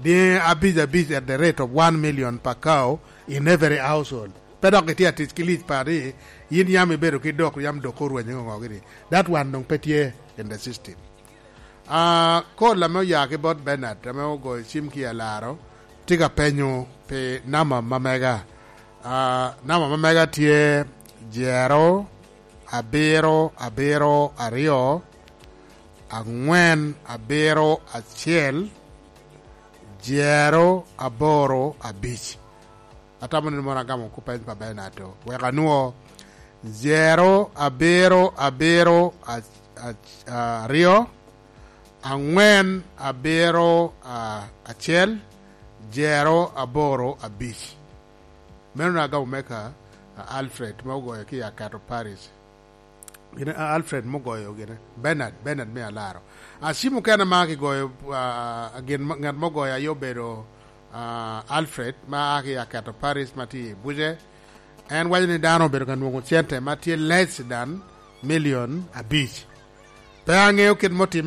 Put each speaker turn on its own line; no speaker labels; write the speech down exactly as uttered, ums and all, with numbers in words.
Dyangi abic abic at the rate of one million per cow in every household. Pe dok itye atic ki lic pa ni in yam ibedo ki dok yam dok orwenyo ngo gini. That one dong pe tye in the system. Uh, call ame oya ki bot Bernard ame ogoyo cim ki alaro tye ka penyo pi namba ma mega. Uh, namba ma mega tye zero abiro abiro aryo angwen abiro acel zero aboro abic. Atamo ni mono agamo kupeny pa Bernard to. Wek anwo zero abiro abiro aryo angwen abiro acel zero aboro abic. Meno agamo meka Alfred ma ogoyo ki Akato Paris. Gine Alfred mugoyo gine Bernard Bernard me alaro. Acim mukene ma kigoyo gin ngat mugoyo aye obedo Alfred ma a ki Akato Paris ma tye i Buce. En waco ni dano obedo ka nwongo cente ma tye less than million abic. Pe angeyo kit motime